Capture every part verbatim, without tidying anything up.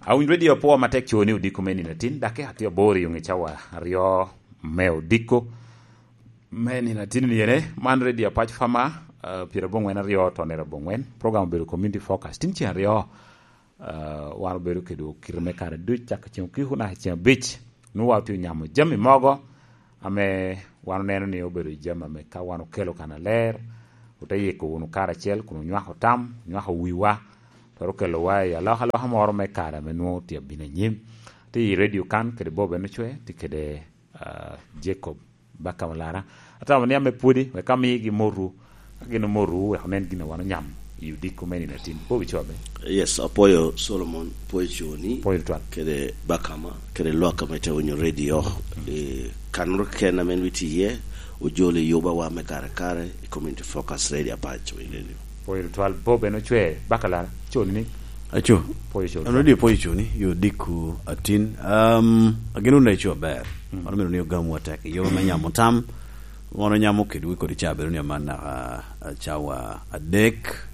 Awinyo redio apwo matek co ni odiko me nino atin, daki atye aboro i onge cawa aryo me odiko me nino atin ni ene. Man redio Apac Fama, ah, pyerabongwen aryo to nera bongwen. Program obedo Community Focus. Tin ceng aryo, ah, wan obedo kede okiro me kare duc, cak ceng okiko naka ceng abic. Nwoŋo wa otye onyamo jami mogo ame wan oneno ni obedo jami ame ka wan okelo kan aler, ote yiko wunu karacel kun onywako tam, onywako wiwa, twero kelowa i alokaloka moro me kare ame nwoŋo tye abino anyim. Tye i redio kan kede Bob en ocwe, tye kede, ah, Jacob Baka Malara. Atamo ni ame pwodi, wek amigi moru, ka gin omoto wek onen gin a wan onyamo i odiko me nino atin. Bobi Cobe. Yes, apwoyo Solomon, apwoyo Coni, apwoyo Twal, kede Bakama, kede lwak ame te winyo redio. E, kanoro ken ame en witi iye, ojolo i yuba wa me kare kare, i Community Focus Radio Apac, winyo redio. Apwoyo Twal, Bob en ocwe, Bakalara, Coni ni? Aco. Apwoyo Coni. An redio apwoyo Coni, yo diko atin. Um, ageno ni ico aber. Mm. Mano mito ni ogamu atek. Yo me nyamo tam, wan onyamo kedwu kodi ca bedo ni aman naka, ah, cawa adek.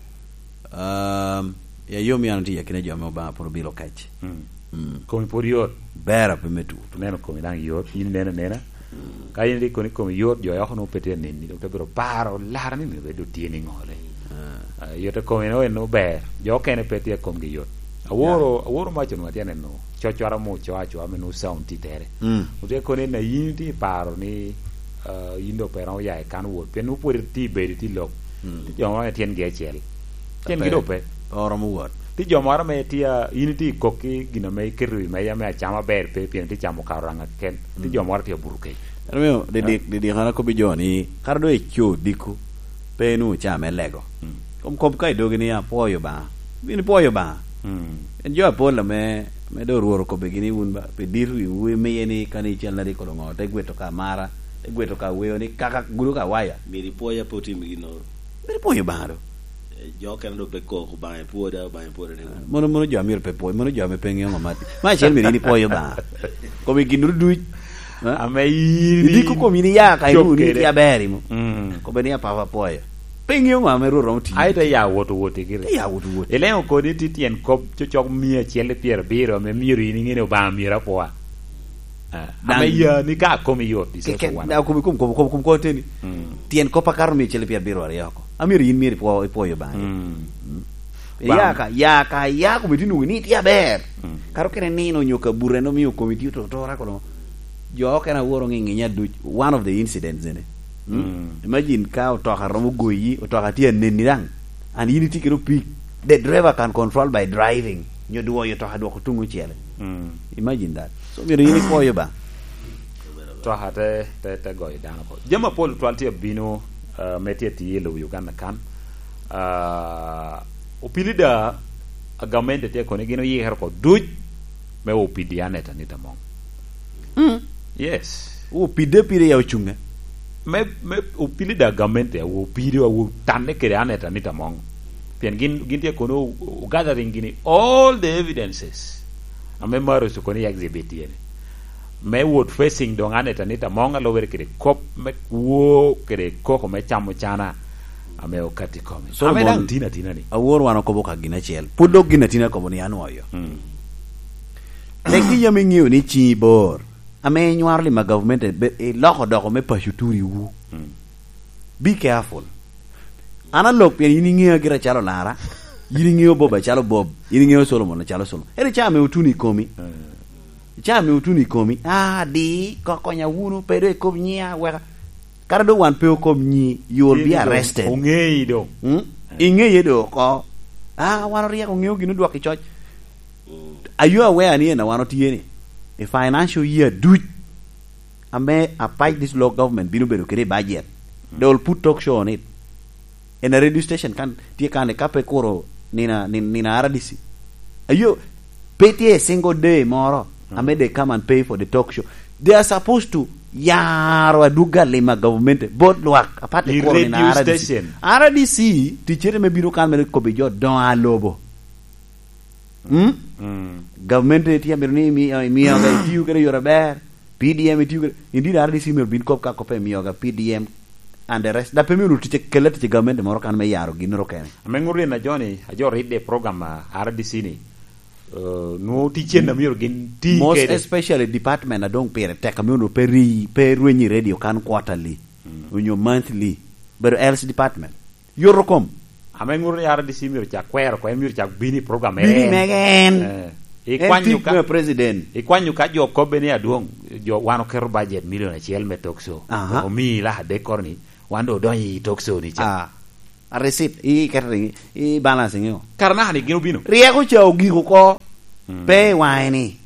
Um, ya yo mi an tye yakina jo ame Obaŋa pwod obilo kec. Mm. Mm. Komi pwod yot. Ber ape me tu. Neno komi daŋ yot, in neno nena. Mm. Ka in rik kono komi yot, jo yoko nwoŋo pe tye nini, dok te biro paro lara ni myero bed otye ni ŋole. Ah. Ah, yot e komi no en ober. Jo okene pe tye komgi yot. Aworo, yeah, aworo maco nwoŋo atye neno. Cocwara mo co acwa me nwoŋo sound tye tere. Mm. Otye kono en a in tye paro ni, ah, in dok pe romo ya i kan wot. Pien nwoŋo pwod itye bedo itye lok. Mm. Tye jo moro ame tyengi acel. Tyengi dok pe. Oromo wot. Tye jo moro ame tye a, in itye i kokki gin ame iketo i meja me acama ber pe, pien itye camo karuranga keken. Tye jo moro tye abuto kec. Ento miyo didik, didik an akobbi jo ni, kara doŋ ico odiko, pe inwoŋo caa me lego. Mm. Kom kop ka i dogi ni, "Apwoyo Obaŋa." Bin ipwoyo Obaŋa. Mm. En jo apol ame, ame doŋ Rwot okobbigi ni, "Wun ba, pi dit wiwu imiye ni kani icel na rik odoŋo, te gweto ka mara, te gweto ka weo ni kaka gudo ka waya." Myero ipwoya pe otim ginnoro. Myero ipwoyo Obaŋa do. Eh, jo okene do pe kok Obaŋa ipwoda, Obaŋa ipwoda ni. Mono, mono jo amyero pe pwoyo, mono jo ame pe ŋeo ŋo mat. Ma acel myero in ipwoyo Obaŋa. Kom i gin ducu, eh? Ame in idiko kom in iya ka cop iru ni kede. Tye aber imo. Mm. Kobe ni apapa pwoyo. Pe ŋeo ŋo ame Rwot romo tiyo. Ai te ya wot wot i giri. Te ya wot wot. Ileŋo kodi ti tyen kop cocok mia acel i pyerabiro ame myero in iŋe ni Obaŋa myero apwoa. Ah, daŋ ame ya ni ka komi yot, i ke-, ke-, Sosowano. Da, komi, kom, kom, kom, kom, kom teni. Mm. Tyen kop akato mia acel i pyerabiro aryo oko. Amyero in myero ipwo-, ipwoyo Obaŋa. Mm. Mm. Bam. Ya ka, ya ka, ya komi ti nwoŋo ni itye aber. Mm. Karo kene nino onyo kabute no mio komi ti ototora kono. Jo okene aworo ŋe-, ŋinya duc. One of the incidents ene. Mm. Mm. Imagine ka otoka romo goyi, otoka tye aneni daŋ. And in itye kede opik. The driver can control by driving. Nyo dwoyo otoka dwoko tuŋ ocele. Mm. Imagine that. So, myero in ipwoyo ba. Twaka te, te, te goyo dano oko. Jami apol twal tye abino, uh, me tye atiye i lobo Uganda kan. Uh, opili da, a gamente tye kono gin oyikere oko duc me opidi Aneta Anita Among. Mm. Yes. Opide pire ya ocuŋe. Me, me opili da gamente, awo opide, awo tanne kede Aneta Anita Among. Pien gin, gin tye kono o-, o-, gathering gini all the evidences. Ame Maros okono i exhibit tye ni. Me wot facing doŋ Aneta Anita Among alubere kede kop me kwo kede koko me camo cana ame okati kome. Solomon, ame daŋ tin atina ni. Awor wan okobo ka gin acel. Pwod dok gin atina kobo ni anwoyo. Mm. Tek ki yam iŋeo ni ciŋi bor. Ame inywaro lima gavumenti, be-, iloko doko me paco turiwu. Mm. Be careful. An alok pien in iŋeo gira calo Lara, in iŋeo Bob acalo Bob, in iŋeo Solomon acalo Solomon. Ere ca ame otuno i komi? Mm. Ca ame otuno i komi, ah, di, ko-, konya wunu, pe do ikob nyiya, weka. Kara do wan pe okob nyi, you will be arrested. Oŋeyi do. Mm? Iŋeye do oko. Ah, wan oryeko ŋeo gin odwok i coc. Are you aware ni en a wan otye ni? I financial year duc, ame Apac District Local Government bino bedo kede i budget. They will put talk show on it. In a radio station kan, tye kan ka pe kuro nina, nin-, nina R D C. Are you, pe tye a single day moro, ame they come and pay for the talk show. They are supposed to yaro adwoga lima government, bot lwak, apart the kuro nina R D C. I radio station. R D C, ticere me bino kan me kobi jo dongo alobo. Mm? Mm. Gavumenti tye amito ni imi-, eh, imiyo ga itiyo kede yore aber. P D M itiyo kede, indeed R D C myero bin kop ka kop imiyo ga P D M and the rest. Da pe myero tic, kela tic i gavumenti moro kan me yaro ginnoro kene. Ame ŋut rin a joni, a jo ridde i program a R D C ni, Uh, nwoŋo ticen a myero gin ti Most kede. Especially department a doŋ pire tek, a myero pe ri-, pe rweny i radio kan quarterly, mm, onyo monthly, bedo else department. Yoro kom. Ame ŋuto ni R D C myero cak kwero oko, en myero cak bino i program Bini ere en. Mege en. Eh, En ikwanyo tic ka, me president. Ikwanyo ka jo kobbe ni adwoŋ, jo wan oketo budget milion acel me talk show. Aha. Omii lak adek koro ni, wan doŋ odonyo i talk show ni ca. Ah. A receipt, i, i catering, i balance ŋeo. Kara naka ni gin obino. Ryeko ca ogik oko. Mm. Pe i waŋe ni.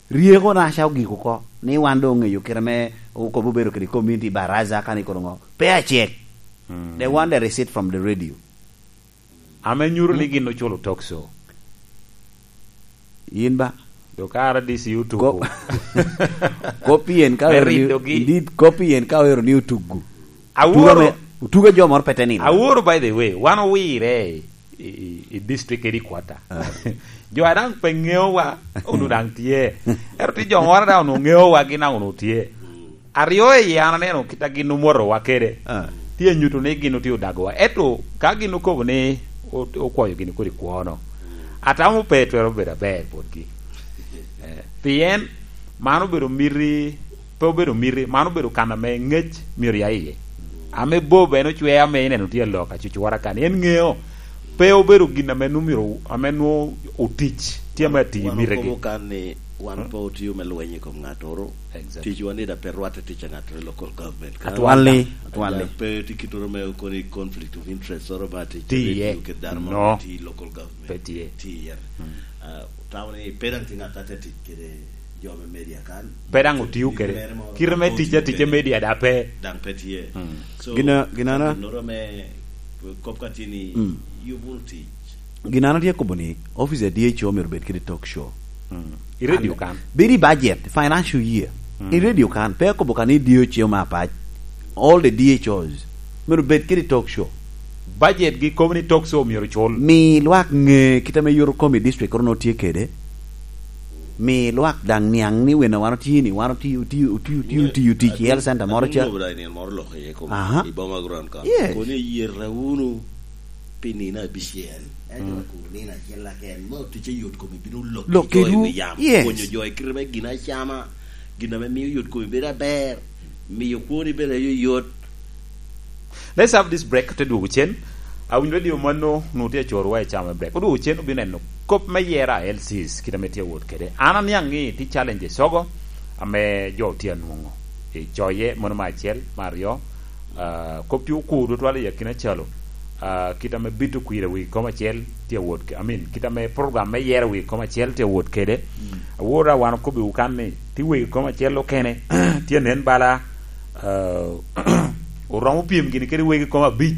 Ryeko na ca ogik oko. Ni wan doŋ oŋeyo kite me okobo bedo kede community baraza ka ni koro ŋo. Pe acek. Mm. They want the receipt from the radio. Ame nyuto ni gin oculo talk show. Yin ba? Dokara D C otugo. Ko-, kopien ka Me ero ni, ridogi. Indeed, kopien ka ero ni otugo. Aworo. Otugo me, otugo jo moro pete nino. Aworo, by the way, wan owire i, i, i district headquarter. Ah. Jo a daŋ pe ŋeowa, onwoŋo daŋ tye. Ero tye jo moro daŋ onwoŋo ŋeowa, gin daŋ onwoŋo tye. Aryo i yie an aneno kit a gin omwotowa kede. Ah. Tye nyuto ni gin otye odagowa. Ento ka gin okobo ni o-, okwoyo gini kodi kwono, atamo pe twero bedo aber botgi. Eh, pien man obedo miti, pe obedo miti, man obedo kan ame ngec myero ya iye. Ame Bob en ocwea ame ineno tye alok acucura kan. En ŋeo, pe obedo gin ame nwoŋo myero, ame nwoŋo otic, tye ame atiyo Wan mitegi. Okobo kan ni wan Hmm? pe otio me lweny i kom ŋattoro. Exactly. Ticwa ni da pe rwatte tic a ŋattoro i local government. Kan Atwalli, atwalli. Pe tye kittoro me okoni conflict of interest oro ba tic Tye iye. Kede dano No. Mo tye i local government. Pe tye. Tye iye. Hmm. Ah, tamo ni pe daŋ tye ŋat a tye tic kede jo me media kan. Pe daŋ otio kede. Gin mere mo Kite me daŋ tic otio atica kede. Media da pe. Daŋ pe tye. Hmm. So, Gina-, ginana- ginnoro me kop ka tye ni Mm. yubo wunu tic. Gin an atye kobo ni, office a D H O myero bed kede talk show. Mm. I radio And kan. Bed i budget, financial year. Mm. I radio kan, pe akobo kan i D H O me apac. All the D H Os myero bed kede talk show. Budget gi kobo ni talk show myero cul. Mi lwak ŋe kit ame yot okom i district kono tye kede. Mi lwak daŋ niaŋ ni wene wan otye ni, wan otye, otye, otye, otye, otye, otye, i health center moro ca. Atum lobo daŋ i nino moro lok iye kom Aha. I boma ground kan. Yes. Kono iyeta wunu pi nino abicel. Ento Mm. ku nino acel keken, mo ticce yot kom ibino lok Lok ki jo i kedwu. Wi yamo. Yes. Pwonyo jo i kite me gin acama, gin ame miyo yot kom bedo aber, miyo kwoni bedo ayoyot. Let's have this break, te dwogo cen. Awinyo radio mano, nu tye acorowa i camo break. Odwogo cen, obino neno kop me yera a L Cs, kit ame tye awot kede. An aniaŋ ni tye challenges ogo, ame jo tye anwoŋo. I coye, mano me acel, me aryo, ah, kop tye okur tutwal i akina calo. Ah, kit ame bito kwir i wi kom acel tye awot ke-, I mean, kit ame program me yero wi kom acel tye awot kede. Mm. Awora wan okobbiwu kan ni, tye wegi kom acel okene, tye nen bala, ah, oromo pyem gini kede wegi kom abic,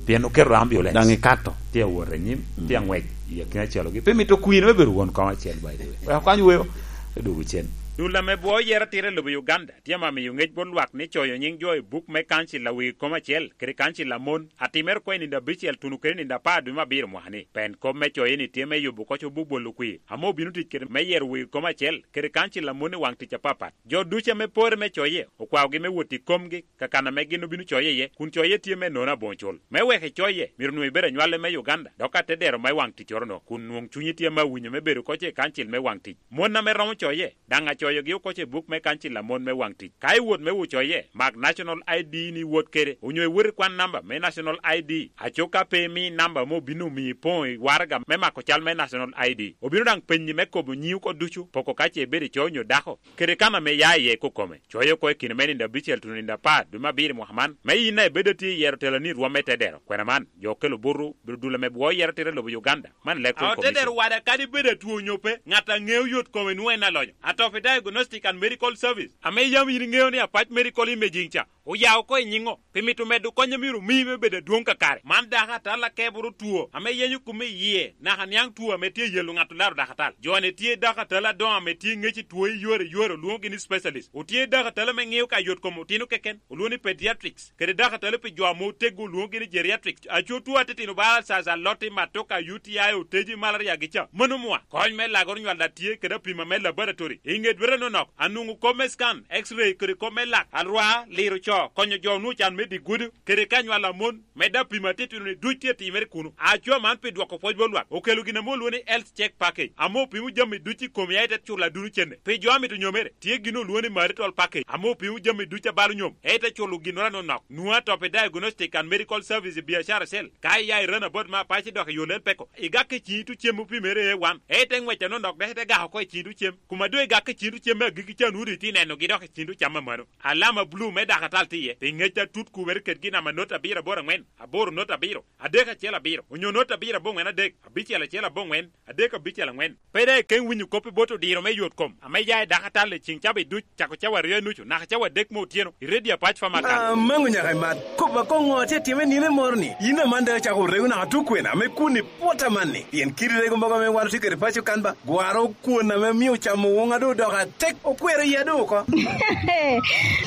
pien oketo ambulance. Daŋ ikato. Tye awot anyim, Mm. tye aŋwec i akina calogi. Pe mito kwir me bedo won kom acel, by the way. Wek okany weo, te dwogo cen. Dul ame bwo yero tira i lobo Uganda, tye ame miyo ŋec bot lwak ni coyo nyiŋ jo i buk me kancil a wegi kom acel, kede kancil a mon, atimere oko i nino abicel tuno kede nino apar dwe me abiro mwaka ni. Pen kop me coye ni tye me yubo koc obuk bolo kwir, ame obino tic kede me yero wegi kom acel, kede kancil a mon i waŋ tic apapat. Jo ducu ame pore me coye, okwaogi me wot i komgi, kakan ame gin obino coye iye, kun coye tye me nono aboŋo cul. Me wek icoye, myero nwoŋo ibed anywale me Uganda, dok atedero me waŋ ticcoro-no, kun nwoŋo cunyi tye me awinyo me bedo koc i kancil me waŋ tic. Mon ame romo coye, daŋ acoyogi oko i buk me kancil a mon me waŋ tic. Ka iwot me wot coye, mak National I D ni iwot kede, onyo iwot ikwan namba me National I D. Aco ka pe imi namba ame obino omiyi ipoŋo i waraga me mako cal me National I D, obino daŋ penyi me kobo nyiŋi oko ducu, poko ka ce ibedo ico onyo dako, kede kan ame ia iye i kokome. Coye oko i kine me nino abicel tuno nino apar dwe me abiro i mwaka man, me yin a ibedo atye i yero teloni i rwom me tedero. Kwena man, jo okelo buto, bedo dul ame bwo yero tira i lobo Uganda. Man Electoral Commission. Aotedero wada kadi bed atwo onyo pe, ŋat a ŋeo yot kome nwoŋo en alonyo. Atopi Diagnostic and Medical Service, ame yam in iŋeo ni Apac Medical Imaging ca, oyao oko i nyiŋo, pi mito medo kony a myero omi me bedo adwoŋ kakare. Man dako atal akeboro two, ame yenyo kome i yie, naka niaŋ two ame tye yelo ŋat olaro dako atal. Jo-ni tye dako atal adoŋo ame tye ŋec i two i yore yore, olwoŋogi ni specialist. Otye dako atal ame ŋeo ka yot kom otino keken, olwoŋo ni pediatrics. Kede dako atalo pi jo ame oteggo olwoŋogi ni geriatrics. Aco two atitino bala alcaza, aloti, matoka, U T I, oteji, malaria gi ca. Mano mwa. Kony me lagoro nywal a tye kede apima me laboratory. I ŋe dwete nonok, anwoŋo kop me scan, X-ray, kede kop me lak, alwar, liro co. Konyo jo onwoŋo can me dye gudo, kede ka nywalo amon, medde apimo atitino ni duc tye atimere kuno. Acwa man pi dwoko pwoc bot lwak, okelo gin ame olwoŋo ni Health Check Package, ame opimo jami duc i kom ya ite culo aduno cene. Pi jo amito nyomere, tye gin olwoŋo ni Marital Package, ame opimo jami duc a balo nyom, ite culo ginnoro anonok. Nwoŋo atop i Diagnostic and Medical Service i biacara acel, ka iya i Runabout ma Apac idok i yo Lel Peko, igak i ciŋ itu cem opimere A one, ite ŋwec anonok dok ite gak oko i ciŋ itu cem. Kuma doŋ igak i ciŋ itu cem me agikki ca nwoŋo doŋ itye nenogi dok i ciŋ itu cam amano. Alama bulu me dakatal tye iye, pi ŋec atut kubere kedgi namba not abiro aboro aŋwen, aboro not abiro, adek acel abiro, onyo not abiro aboŋwen adek, abicel acel aboŋwen, adek abicel aŋwen. Pe daŋ ikeŋ winyo kop i bot odiro me yot kom, ame ya i dakatal i ciŋ cawa duc, cako cawa aryo i nucu, naka cawa adek me otyeno, i redio Apac Pharmacan. Amaŋo nyaka i mat. Kop akoŋ ŋo atye atime nino moro ni? Yin aman daŋ acako rego naka tukwena ame kun i pwot amanni. Pien kidi rego mogo ame wan otye kede paco kan ba, gwaro kwon ame mio camo woŋa doŋ odoko atek, okwero iya doŋ oko.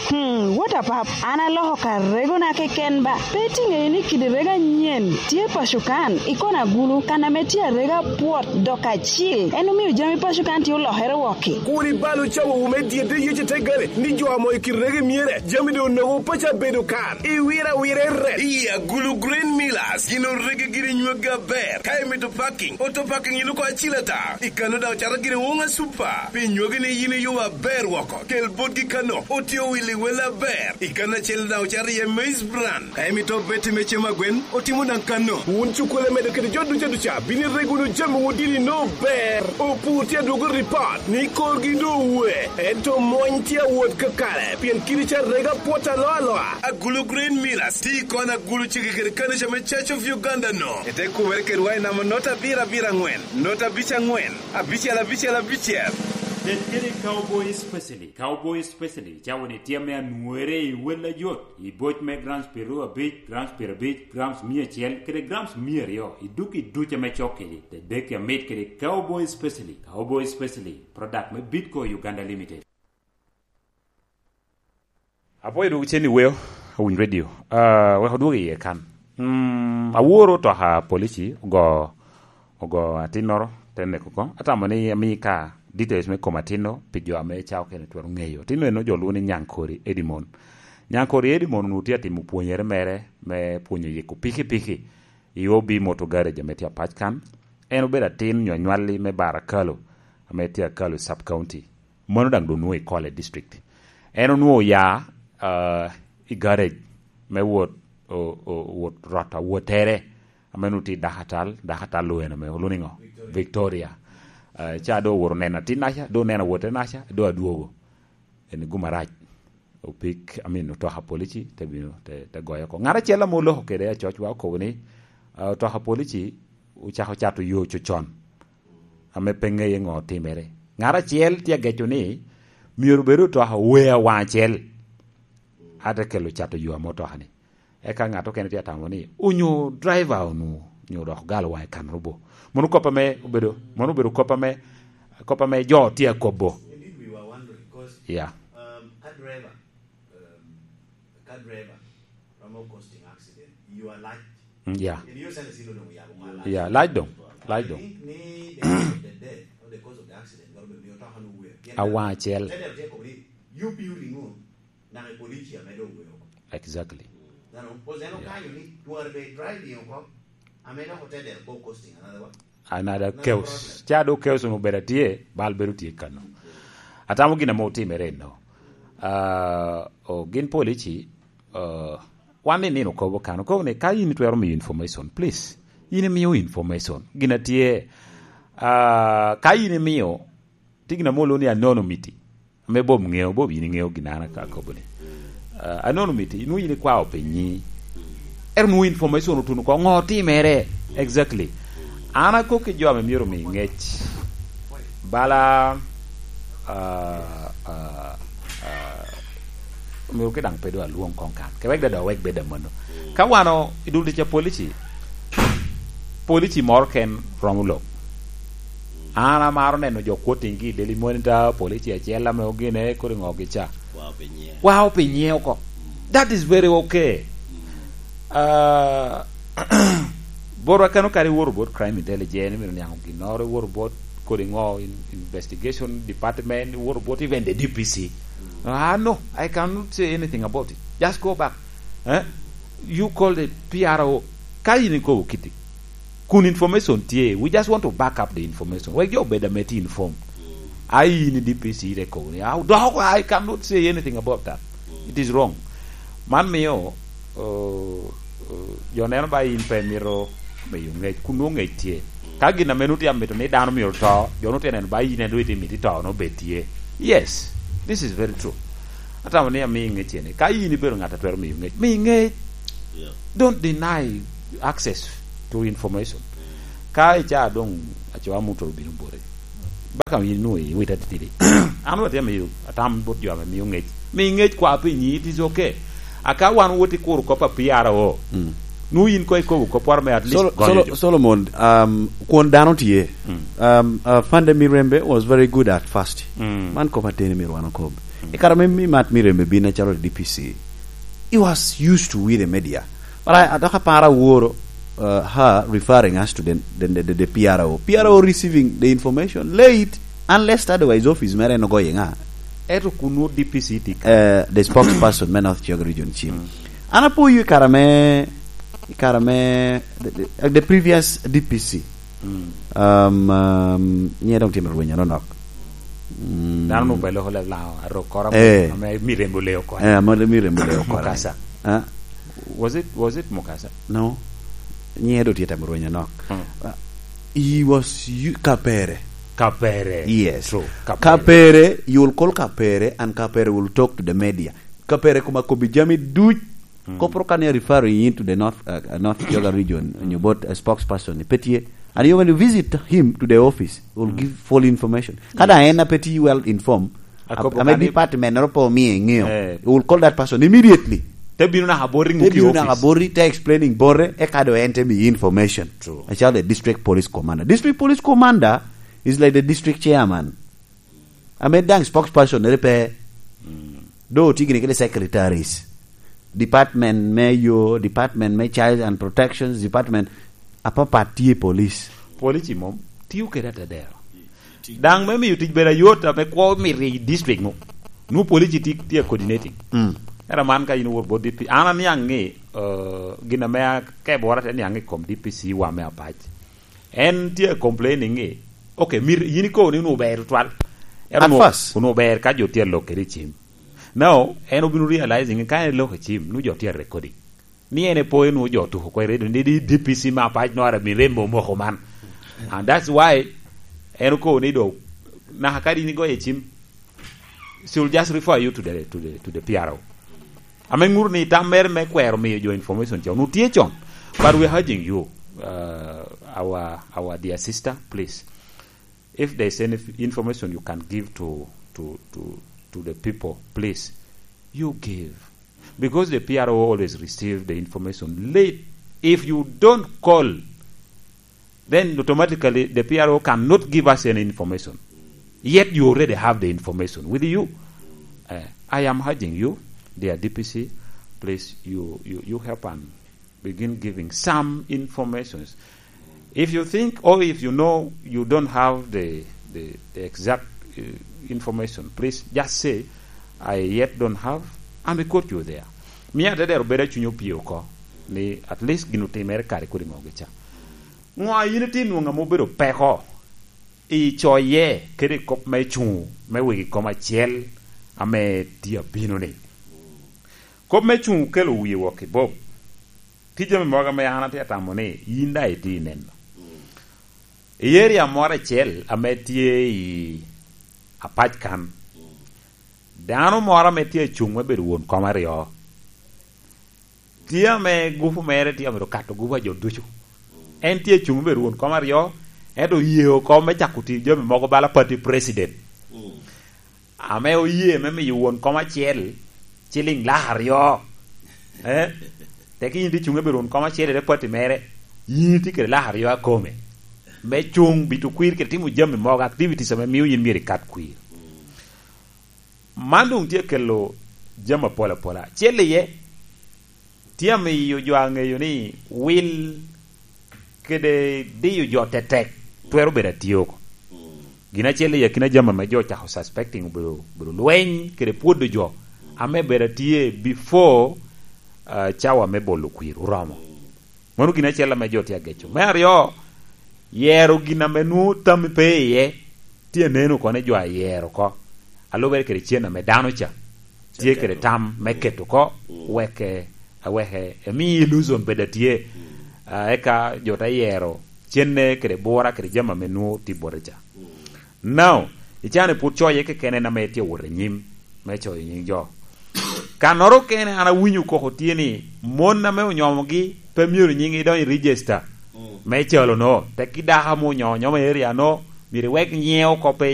Hmm, what a pap? An aloko ka regona keken ba. Pe itiŋeyo ni kidi rego anyen tye paco kan, i kona gulu, kan ame tye arega pwot dok acil. En omio jami paco kan tye olokere wokki. Kur ibal ocawowu me dyedde yec i te gare, ni jo amo i kidi rego myere, jami doŋ onogo paco abedo kan. Iwiro awira i ret. I agulu Green Millers, gin orege giri nyweggi aber. Ka imito parking, auto parking iluko acil ata. I kano daŋ ocato gire woŋa super. Pi nywagi ni yin iyubo aber woko. Kel botgi kano, otye owil i wel aber. I kano acel daŋ ocato iye maize bran. Ka imito beti me cem agwen, otimo daŋ kano. Wun cukkulu amedo kede jo duca duca, bino ireg wunu jami wun dini no ber. Opur tye adwogo ripot, ni korgi doŋ owe. Ento mony tye awot kakare, pien kidi ca rega pwot aloa aloa. Agulu Green Millers, ti kon agulu cege kede kanica me Church of Uganda no. Ite kubere kedwa i namba not abiro abiro aŋwen, not abic aŋwen, abicel abicel abicel. Ted kede Cowboy Specialist. Cowboy Specialist cawo ni tye ame anwore i wel ayot, i boc me grams piero abic, grams piero abic, grams mia acel, kede grams mia aryo, i duk i duc ame cok kede, te dek amit kede Cowboy Specialist. Cowboy Specialist, product me Bitco Uganda Limited. Apwoyo dwogo cen i weo, Awiny Radio. Ah, wek odwogo iye kan. Mm, aworo otoka polici ogo, ogo atinnoro, te neko oko. Atamo ni ami ka details me kom atinno pi jo ame ca okene twero ŋeyo. Atinno eno jo lwongo ni Nyankori Edimon. Nyankori Edimon onwoŋo tye atimo pwonyere mere me pwonyo yiko pikipiki i O B Motor Garage ame tye Apac kan. En obedo atin nyo anywalli me Barakalo, ame tye Akalo Sub County. Mano daŋ doŋ nwoŋo i Kole District. En onwoŋo oya, ah, i garage me wot, o-, o-, wot rot awottere, ame onwoŋo tye i Dakatal, Dakatal lueno me Oluniŋo, Victoria. Victoria. Ah, ca doŋ owoto neno atinnaca, doŋ oneno awotte naca, doŋ adwogo. En gum arac. Opik, I mean, otoka polici te bino, te, te goyo oko. Ŋat acel ame oloko kede acocwa okobo ni, ah, otoka polici ocako cato yo cocon, ame pe ŋeye ŋo otimere. Ŋat acel tye ageco ni myero obed otoka owe awaŋ acel, ate kelo cato yo ame otoka-ni. Eka ŋat okene tye atamo ni, onyo driver onwo, onyo dok galo waŋe kan rubo. Mano kop ame obedo, mano obedo kop ame, kop ame jo tye akobo. Indeed, we were wondering, 'cause, yeah, um, ka driver, um, ka driver romo causing accident, you are light. Mm, yeah. In your sense, you don't know, yeah, yeah, light doŋ, light doŋ. I think ni the cause of the death or the cause of the accident, garo be miyo toka no where. Awaŋ acel. Tell them, take away, you building on. Naka i police ame doŋ owe oko. Exactly. Nano, 'cause en, yeah, okanyo ni twara be driving oko, ame dok otedere ko costing another what? Another chaos. Another problem. Ca do chaos onwoŋo obedo atye, bal bedo tye kano. Atamo gin ame otimere eno. Ah, o, gin polici, ah, wan ni nino kobo kano. Kobo ni ka in itwero miyo information, please. In imiyo information. Gin atye, ah, ka in imiyo, tye gin ame olwoŋo ni anonymity. Ame Bob ŋeo, Bob yin iŋeo gin an akobo ni. Ah, anonymity, inwoŋo yin ikwao pi nyi. Ero nwoŋo information otuno ko, ŋo otimere? Exactly. An akok ki jo ame myero omi ŋec. Bala, ah, ah, ah, myero ki daŋ pe doŋ alwoŋ koŋ kan. Ke wek dada wek bed amanno. Ka wan o, i dul tic a polici, polici moro ken romo lok. An amaro neno jo quoting gi i Daily Monitor, polici acel ame ogine, kodi ŋo gi ca. Wao pi nyiŋe. Wao pi nyiŋe oko. Mm. That is very okay. Mm. Ah, botwa kano kare iwoto bot crime intelligence, imito niaŋ ginnoro, iwoto bot kodi ŋo, in-, investigation department, iwoto bot even the D P C. Mm. Ah, no, I cannot say anything about it. Just go back. Eh? You call the P R O. Ka in ikobo kiti. Kun information tye. We just want to back up the information. Wek jo obed ame tye informed. Ai, in i D P C ite kobo ni, "Ah, dok oko, I cannot say anything about that. It is wrong." Man mio, uh, uh, jo neno ba in pe mito miyo ngec, kun nwoŋo ngec tye. Ka gin ame nwoŋo tye amito ni dano myero to, jo nwoŋo tye neno ba in en doŋ itye mito to, nwoŋo bed tye. Yes, this is very true. Atamo ni ami ngec ene. Ka in ibedo ŋat a twero miyo ngec, mi ngec. Yeah. Don't deny access to information. Ka ica doŋ acoa muto obino boti. Baka in nwoŋo iwit atitidi. An watye miyo atam bot jo ame miyo ngec. Mi ngec kwa pi nyi, it is okay. Aka wan wot i kuro kop a P R O. Mm. Nu in ko ikobo kop waro me at least Solo-, gonyo Solo-, jo. Solomon, um, kwon dano tye. Mm. Um, uh, Fande Mirembe was very good at first. Mm. Man kop ateni myero wan okob. Mm. I kare me mi Mat Mirembe bin acalo D P C, he was used to with the media. But I, I talk about Awuoro, uh, her referring us to the, the, the, the, the P R O. P R O receiving the information late, unless otherwise office mere en ogoye ŋa? Eto kun nwoŋo D P C tye ka? Uh, the spokesperson me North Kiyoga region, Chim. Mm. An apoyo i kare me, i kare me, the, the, the previous D P C. Mm. Um, um, nye doŋ timo rweny anonok. Mm. Dano nwoŋo belo ko leb Laŋo, arok koro ame, Eh. ame Mirembe oleo kore. Eh, ame Mirembe oleo kore. Mukasa. Ah? Was it, was it Mukasa? No. Nye doŋ tye tamo rweny anok. Mm. Uh, he was you, Kapere. Kapere. Yes. True. Kapere. Kapere, you will call Kapere and Kapere will talk to the media. Kapere kuma kobi jami duc. Mm. Kopro kan ya referring into the North, uh, uh, North Kiyoga region, Mm. onyo bot a spokesperson, ni pe tye. And you when you visit him to the office, will Mm. give full information. Kada Yes. en a pe tye well informed, Akobo ame kan i- department noro po mi ngeo, Eh. will call that person immediately. Te bino naka boti Te ŋuki bino office. naka boti, te explaining bore, e kado en te mi information. True. As the district police commander. District police commander is like the district chairman. Ame daŋ spokesperson nere pe. Mm. Do tye gini kede secretaries. Department me yo, department me child and protections, department apapat tye i police. Police mom, tiyo kede atedero. Daŋ me miyo tic bedo ayot, ame kwo mito i district nu. Nu police tye, tye coordinating. Mm. Era man ka in owuot bot D P, an aniaŋ ni, uh, gin ame akebora te niaŋ i kom D P C wa me Apac. En tye complaining ni, okay, mir-, yin ikobo ni onwoŋo ber tutwal. Ento At onwoŋo, first. onwoŋo ber ka jo tye alok kede i Chim. Now, en obino realizing ni ka en elok i Chim, nu jo tye a recording. Ni en epo, en onwoŋo jo otuko oko i radio, ni di D P C me Apac nora mi remo omoko man. And that's why en okobo ni do, naka ka din igoyo i Chim, she will just refer you to the, to the, to the P R O. Ame ŋuto ni tam mere me kwero miyo jo information ca, onwoŋo tye con. But we are urging you, uh, our, our dear sister, please, if there's any f-, information you can give to, to, to, to the people, please, you give. Because the P R O always receive the information late. If you don't call, then automatically the P R O cannot give us any information. Yet you already have the information with you. Uh, I am urging you, dear D P C, please, you, you, you help and begin giving some informations. If you think, or if you know you don't have the, the, the exact, uh, information, please just say, "I yet don't have," and we quote you there. Mia te dero bedo a cunyo pio oko, ni at least gin otimere kare kodi mogo gica. Ŋo a yin itye nwoŋo ame obedo peko i coye kede i kop me cuŋ me wegi kom acel ame tye abino-ni? Kop me cuŋ okelo wie wok i Bob. Tye jami mogo ame an atye atamo ni yin daŋ itye ineno. I area moro acel ame tye i Apac kan, dano moro ame tye acuŋ me bedo won kom aryo, tye ame gupu mere tye amito kato gupu a jo ducu. En tye acuŋ me bedo won kom aryo, ento oye oko me cako tiyo jami mogo bala party president. Mm. Ame oye me miyo won kom acel ciliŋ lak aryo. Eh? Teki yin tye cuŋ me bedo won kom acel i te party mere, yin itye kede lak aryo a kome. Me cuŋ, bito kwir, kede timo jami mogo, activities ame mio yin myero ikat kwir. Man doŋ tye kelo jami apol apola. Acel iye, tye amiyo jo a ŋeyo ni wil kede diyo jo tetek twero bedo atye oko. Gin acel i akina jami ame jo ocako suspecting obedo, obedo lweny kede pwodo jo. Ame bedo atye before, ah, cawa me bolo kwir oromo. Mano gin acel ame jo tye ageco. Me aryo, yero gin ame nwoŋo tammi pe iye, tye aneno oko ni jo ayero oko. Alubere kede cen ame dano ca tye kede tam me keto oko, wek, eh, aweke emi illusion bed atye. Ah, eka jo te yero cenne kede bura kede jami ame nwoŋo tye bote ca. Now, i can-ni pwod coye keken en ame tye wot i nyim me coyo nying jo. Kannoro kene an awinyo koko tye ni mon ame onyomogi pe myero nyinggi idony i register me calo no, tekki dako ame onyomo nyoma i area no, myero iwek nyiŋe oko pe